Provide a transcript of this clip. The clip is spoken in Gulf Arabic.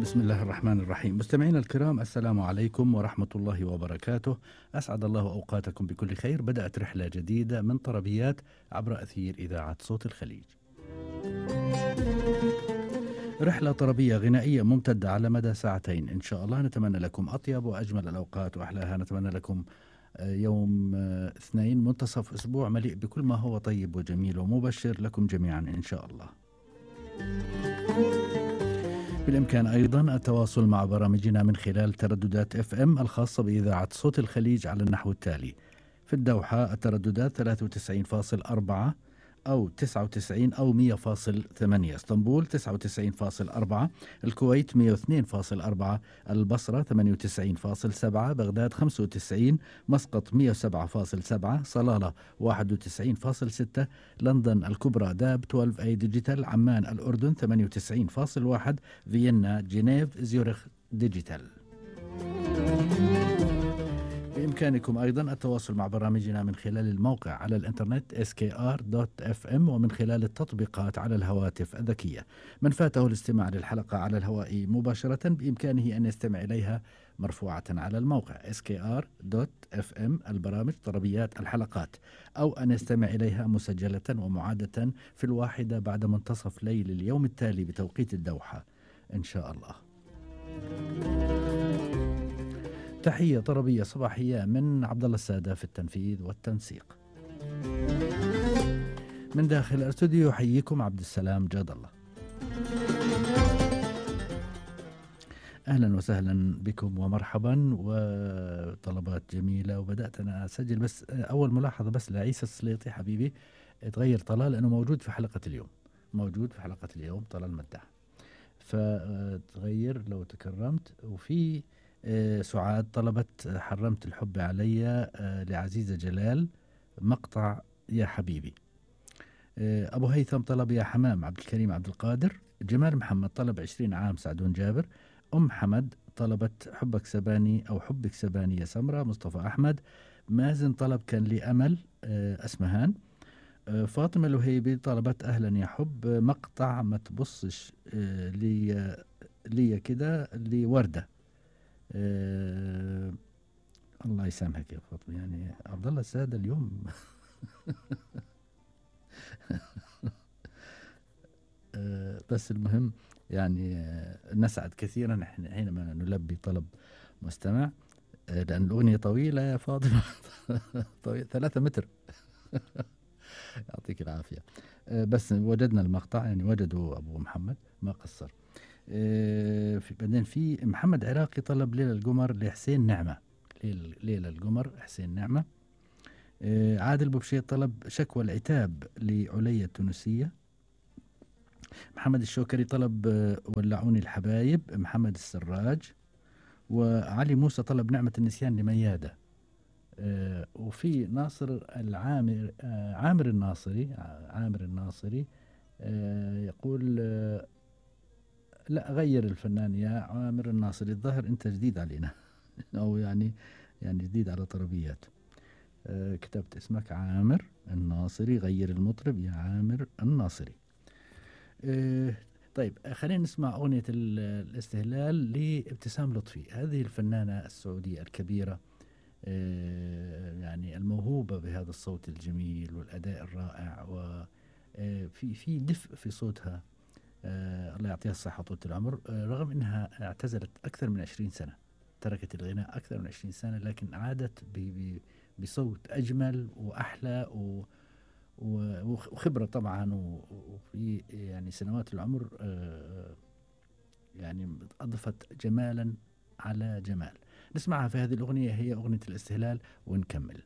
بسم الله الرحمن الرحيم. مستمعينا الكرام، السلام عليكم ورحمة الله وبركاته. أسعد الله أوقاتكم بكل خير. بدأت رحلة جديدة من طربيات عبر أثير إذاعة صوت الخليج. رحلة طربية غنائية ممتدة على مدى ساعتين إن شاء الله. نتمنى لكم أطيب وأجمل الأوقات وأحلاها. نتمنى لكم يوم اثنين منتصف أسبوع مليء بكل ما هو طيب وجميل ومبشر لكم جميعا إن شاء الله. بالإمكان أيضا التواصل مع برامجنا من خلال ترددات FM الخاصة بإذاعة صوت الخليج على النحو التالي: في الدوحة الترددات 93.4 أو 99 أو 100.8، اسطنبول 99.4، الكويت 102.4، البصرة 98.7، بغداد 95، مسقط 107.7، صلالة 91.6، لندن الكبرى داب 12A ديجيتال، عمان الأردن 98.1، فيينا جنيف زيورخ ديجيتال. بإمكانكم أيضا التواصل مع برامجنا من خلال الموقع على الإنترنت skr.fm ومن خلال التطبيقات على الهواتف الذكية. من فاته الاستماع للحلقة على الهواء مباشرة بإمكانه أن يستمع إليها مرفوعة على الموقع skr.fm البرامج طربيات الحلقات، أو أن يستمع إليها مسجلة ومعادة في 1 بعد منتصف ليل اليوم التالي بتوقيت الدوحة إن شاء الله. تحية طربية صباحية من عبد الله السادة في التنفيذ والتنسيق. من داخل الاستوديو يحييكم عبد السلام جاد الله. أهلا وسهلا بكم ومرحبا، وطلبات جميلة. وبدأت أنا أسجل، بس أول ملاحظة بس لعيسى السليطي حبيبي، تغير طلال لأنه موجود في حلقة اليوم، طلال مداح، فتغير لو تكرمت. وفي سعاد طلبت حرمت الحب علي لعزيزة جلال مقطع يا حبيبي. أبو هيثم طلب يا حمام عبد الكريم عبد القادر. جمال محمد طلب 20 عام سعدون جابر. حمد طلبت حبك سباني أو حبك سباني يا سمرة مصطفى أحمد. مازن طلب كان لي أمل أسمهان. فاطمة الوهيبي طلبت أهلا يا حب مقطع ما تبصش لي كده لوردة. الله يسامحك يا فاطمة، يعني عبد الله السادة اليوم بس المهم يعني نسعد كثيرا حينما نلبي طلب مستمع، لأن الأغنية طويلة يا فاطمة طويلة 3 متر يعطيك العافية. بس وجدنا المقطع، يعني وجدوا أبو محمد ما قصر. بعدين في محمد عراقي طلب ليلة القمر لحسين نعمة. ليلة القمر حسين نعمة. عادل بوبشيط طلب شكوى العتاب لعليا التونسية. محمد الشوكري طلب ولعوني الحبايب محمد السراج. وعلي موسى طلب نعمة النسيان لميادة. وفي ناصر العامر عامر الناصري يقول لا غير الفنان يا عامر الناصري، الظاهر انت جديد علينا او يعني جديد على طربيات. كتبت اسمك عامر الناصري، غير المطرب يا عامر الناصري. طيب خلينا نسمع أغنية الاستهلال لابتسام لطفي، هذه الفنانة السعودية الكبيرة، يعني الموهوبة بهذا الصوت الجميل والأداء الرائع، وفي دفء في صوتها. الله يعطيها الصحة طول العمر. رغم أنها اعتزلت أكثر من 20 سنة، تركت الغناء أكثر من 20 سنة، لكن عادت بصوت أجمل وأحلى وخبرة طبعا، وفي يعني سنوات العمر يعني أضفت جمالا على جمال. نسمعها في هذه الأغنية، هي أغنية الاستهلال، ونكمل.